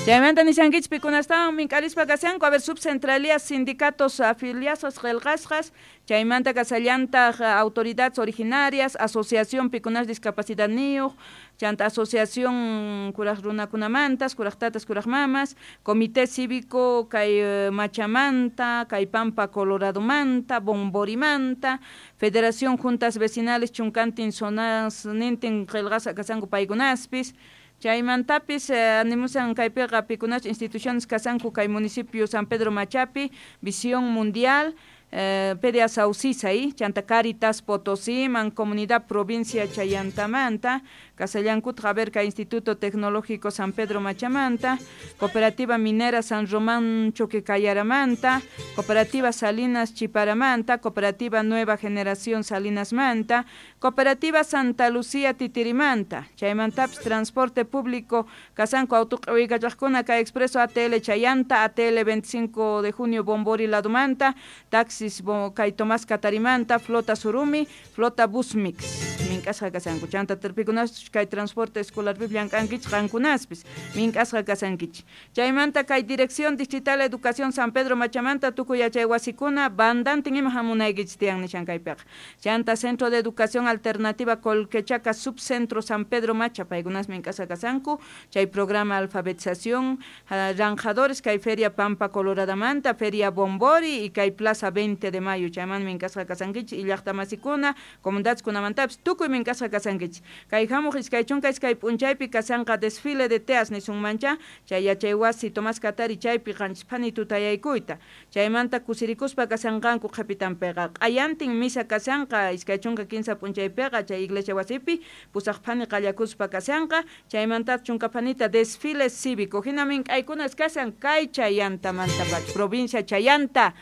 Chaymanta nishankichik pikunastawan mink'arispa kashanku, a ver, subcentralías, sindicatos afiliados qillqasqas, chaymanta kasallantaq autoridades originarias, asociación pikunas discapacidadniyuq, chanta asociación kuraq runakunamantas, kuraq tatas, kuraq mamas, comité cívico kay Machamanta, kay Pampa Coloradomanta, Bomborimanta, federación juntas vecinales chunkantin zonas nintin qillqasqa kashanku paykunaspis. Chaymantapis animusan kaypiqa pikunas instituciones kasanku kay municipio San Pedro Machapi, Visión Mundial, PDA Saucisay, chanta Caritas Potosí, Mancomunidad Provincia Chayantamanta, Casallancut a kay Instituto Tecnológico San Pedro Machamanta, Cooperativa Minera San Román Choquecayaramanta, Cooperativa Salinas Chiparamanta, Cooperativa Nueva Generación Salinas Manta, Cooperativa Santa Lucía Titirimanta, Chaymantaps Transporte Público Casanco Autuq'uykachaqkuna kay Expreso ATL Chayanta, ATL 25 de junio Bombori Ladumanta, Taxis kay Tomás Catarimanta, Flota Surumi, Flota Busmix. Mink'asqa kasanku chanta terpikunas kay transporte escolar llank'ankichik qankunaspis mink'asqa kasankichik. Chaymanta kay Dirección Distrital Educación San Pedro Machamanta tukuy yachay wasikuna bandantin ima hamunaykichik tiyan nishan kaypiqa. Chanta Centro de Educación Alternativa Colquechaca Subcentro San Pedro Macha paykunas mink'asqa kasanku chay programa alfabetización ranjadores kay Feria Pampa Coloradamanta, Feria Bombori y kay Plaza 20 de Mayo chayman mink'asqa kasankichik y llaqtamasikuna comunidades kunamantapis tukuy mink'asqa kasankichik. Kay hamuq iskay chunka iskay p'unchaypi kasanqa desfile de teas nisunmancha chay yachay wasi Tomás Katari chaypi qanchis tutayaykuyta chaymanta kusirikuspa kasanqanku qhipitanpiqa q'ayantin misa kasanqa 23 p'unchaypiqa chay iglesia wasipi pusaq phani qallakuspa kasanqa chaymanta chunka phanita desfile cívico hina mink'aykunas kasan kay Chayantamantapacha provincia Chayanta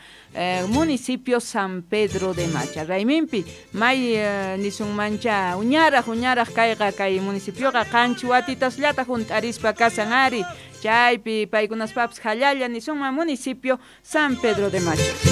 municipio San Pedro de Macha rayminpi may nisunmancha uñaraq kayqa kay municipioqa qanchis watitasllataq hunt'arispa kasan ari chaypi paykunaspapis hallalla nisunman municipio San Pedro de Macha.